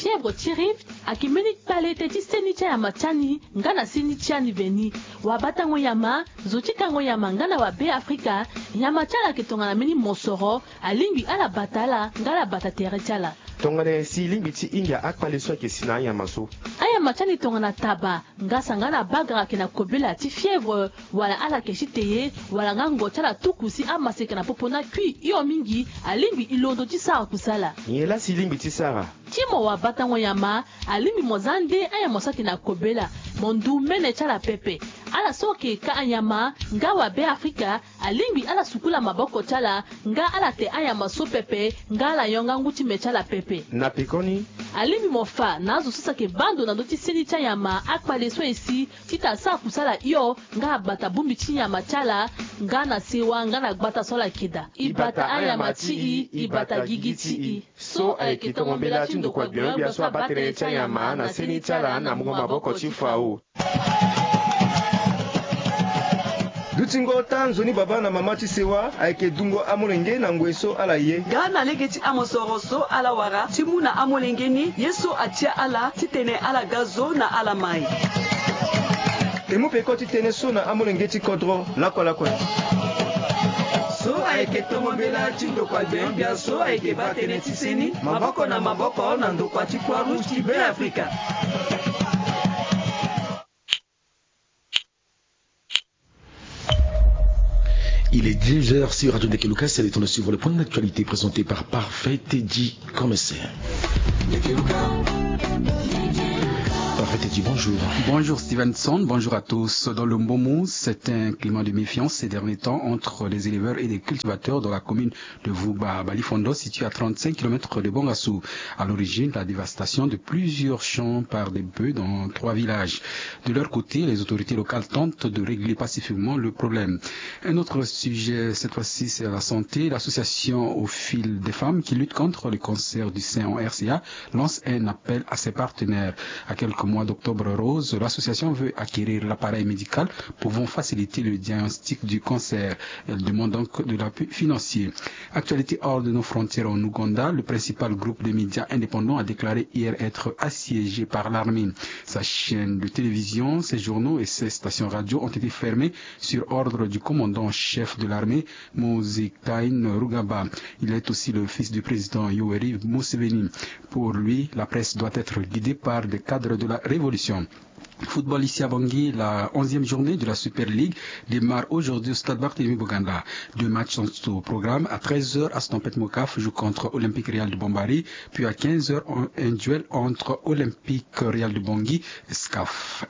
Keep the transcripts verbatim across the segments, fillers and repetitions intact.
Fièvre ti rift ayeke mbeni kpale tënë ti seni ti anyama ti ani nga na seni ti ani veni. Wabatango nyama, zo ti kango nyama nga na wabe afrika, nyama ti ala ayeke tongana mbeni mosoro. Alingbi ala bata ala nga ala bata tere ti ala. Tongana nyen si e lingbi ti hinga akpale so ayeke si na anyama so? Anyama ti ani tongana taba, ngasa nga na bagara ayeke na kobela ti fièvre, wala ala yeke ti te ye, wala nga ngo ti ala tuku si amaseka na popo ni akui hio mingi, alingbi e londo ti sara kusala. Nyen laa si e lingbi ti sara? Ti mo wabatango nyama, alingbi mo za nde anyama so ayeke na kobela, mo ndu mene ti ala pepe. Ala so ayeke ka anyama nga wabe afrika, alingbi ala sukula maboko ti ala nga ala te anyama so pepe, nga ala yonga ngu ti me ti ala pepe. Na pekoni, alingbi mo fa na azo so si ayeke baa ndo na ndö ti seni ti anyama akpale so e si, titene asara kusala hio nga abata bongbi ti nyama ti ala, nga na sewa nga na gbata so ala yeke daa. E bata anyama ti e, e bata gigi ti e. So ayeke tongo mbela ti ndokua gbia-gbia so abaa tënë ti anyama na seni ti ala na mungo maboko ti fao. Dutingo ota nzoni baba na mama ti sewa ayeke dungo amolenge na ngoi so ala ye. Nga na lege ti amosoro so ala wara ti mu na amolenge ni ye so atia ala titene ala ga zo na ala mai. E mu peko ti tënë so na amolenge ti kodro lakue lakue. So ayeke tongo mbela ti ndokua gbia-gbia so ayeke baa tënë ti seni maboko na maboko na ndokua ti Croix Rouge ti Beafrika. Il est dix heures sur Radio Ndekeluka. C'est le temps de suivre le point d'actualité présenté par Parfait Teddy Commissaire. Parfait Teddy, bonjour. Bonjour Stevenson, bonjour à tous. Dans le Mbomou, c'est un climat de méfiance ces derniers temps entre les éleveurs et les cultivateurs dans la commune de Vouba Balifondo, situé à trente-cinq kilomètres de Bangassou. À l'origine, la dévastation de plusieurs champs par des bœufs dans trois villages. De leur côté, les autorités locales tentent de régler pacifiquement le problème. Un autre sujet, cette fois-ci, c'est la santé. L'association Au fil des femmes qui lutte contre le cancer du sein en R C A lance un appel à ses partenaires. À quelques mois d'Octobre Rose, l'association veut acquérir l'appareil médical pouvant faciliter le diagnostic du cancer. Elle demande donc de l'appui financier. Actualité hors de nos frontières en Ouganda, le principal groupe de médias indépendants a déclaré hier être assiégé par l'armée. Sa chaîne de télévision, ses journaux et ses stations radio ont été fermés sur ordre du commandant en chef de l'armée, Muhoozi Kainerugaba. Il est aussi le fils du président Yoweri Museveni. Pour lui, la presse doit être guidée par des cadres de la révolution. Football ici à Bangui, la onzième journée de la Super League démarre aujourd'hui au stade Barthélemy Boganda. Deux matchs sont au programme. À treize heures, Aston Pet Mokaf joue contre Olympique Real de Bombari. Puis à quinze heures, un, un duel entre Olympique Real de Bangui et S C A F.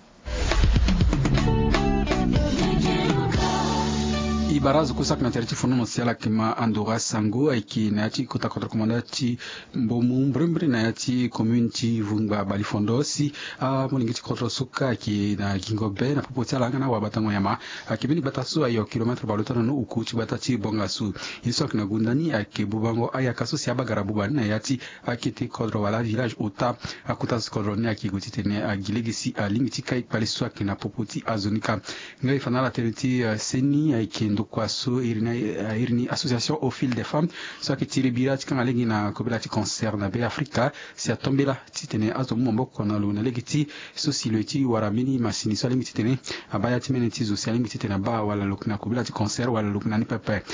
E bara azo kue so ayeke na tere ti fonono si ala yeke ma andora sango ayeke na ya ti kota kodro komanda ti Mbomou mbrimbri na ya ti commune ti Vungba Balifondo si amolenge ti kodro so kâ ayeke na gingo be na popo ti ala nga na awabatango nyama. Ayeke mbeni gbata so ayo kilomètre bale ota na no oku ti gbata ti Bangassou. Ye so ayeke na gunda ni ayeke bubango ayaka so si abagara buba ni na ya ti akete kodro wala avillage ota. Akota so kodro ni ayeke gue titene agi lege si alingbi ti kai kpale so ayeke na popo ti azo ni kâ. Nga e fa na ala tënë ti, eh, seni ayeke ndokua so iri ni, eh, iri ni association Au fil des femmes so ayeke tiri bira ti kanga lege na kobela ti cancer na Beafrika si atombela titene azo mu maboko na lo na lege ti so si lo ye ti wara mbeni masini so alingbi titene abaa ya ti mene ti zo si alingbi titene abaa wala lo yeke na kobela ti cancer wala lo yeke na ni pepe.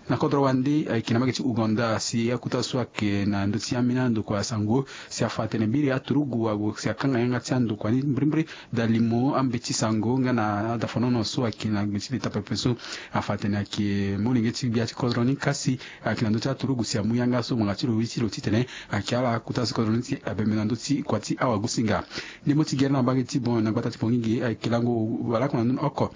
Na kodro wande ayeke na mbage ti Ouganda si akota so ayeke na ndö ti ambeni andokua sango si afa atene biri aturugu ague si akanga yanga ti andokua ni mbrimbri. Dalimo ambeti sango nga na adafonono so ayeke na gbe ti leta pepe so afa atene ayeke molenge ti gbia ti kodro ni kasi ayeke na ndö ti aturugu si amu yanga so ngbanga ti lo ye ti lo titene ayeke ala kota so kodro ni ti abembe na ndö ti kua ti awagosinga. Ndembo ti gere na mbage ti bon na gbata ti Bangui ge ayeke lango wala oko na ndoni oko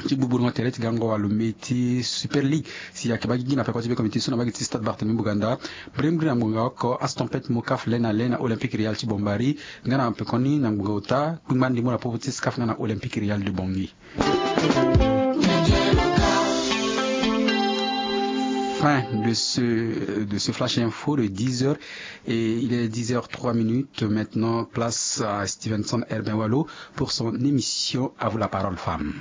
ti gbugburu tere ti gango walo mbi ti Super League si ayeke baa gigi na peko ti be komite so na mbage ti Stade Barthélemy Boganda. Mbrimbri na ngbonga oko Aston Pet Mokaf le na le na Olympique Real ti Bombari. Nga na pekoni na ngbonga ota kpingba ndembo na popo ti S C A F nga na Olympique Real de Bangui. Fin de ce, de ce flash info de dix heures et il est dix heures trois minutes. Maintenant, place à Stevenson Herbin Wallo pour son émission À vous la parole, femme.